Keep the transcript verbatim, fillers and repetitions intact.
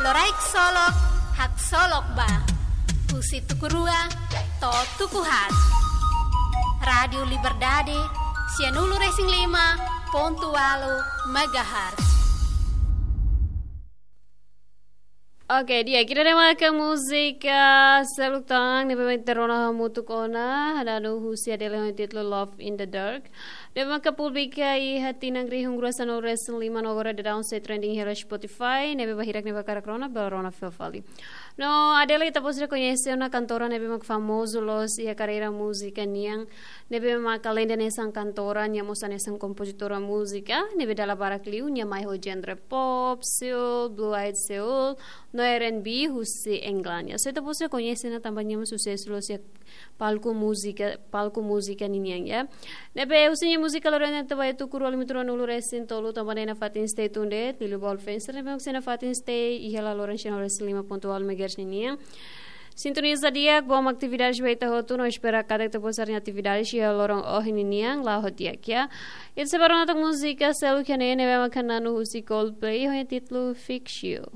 Loraik solok, haksolok ba. Husi tuku rua to'o tuku haat. Rádiu Liberdade, sianulu-resin-lima pontu ualu megahertz. Oke, di'ak, ida-ne'e maka múzika seluk tan ne'ebé mak ita rona hamutuk ona, hada'anu husi Adele ho títulu Love in the Dark. Ne'ebé maka publika iha tinan rihun rua sanulu-resin-lima no agora daudaun sei trending iha Spotify, ne'ebé ba hirak ne'ebé hakarak rona, bele rona fila fali. No Adele ita-boot sira koñese ona kantora ne'ebé mak famozu loos iha karreira múzika nian, ne'ebé mak alende hanesan kantora, nia mós hanesan kompozitora múzika, ne'ebé dala barak liu nia mai ho genre pop, soul, blue-eyed soul, no R and B husi England. Ya, so ita-boot sira koñese ona tanba nia mós susesu loos iha palku múzika, palku múzika ninian, ya. Ne'ebé husi nia múzika lorena ita bá iha tuku rua limituru anulu resin tolu tanba ne'e nafatin stay tuned, liuliu ba All Fans ne'ebé mak sei nafatin stay iha la loran sianulu-resin-lima pontu ualu megahertz ninian. Sintoniza di'ak, bom atividades ba ita hotu, no espera katak ita-boot sira-nia atividades iha loron ohin ninian la'o ho di'ak, ya. Ita sei bá rona tan múzika seluk iha ne'e ne'ebé mak hada'anu husi Coldplay ho nia títulu Fix You.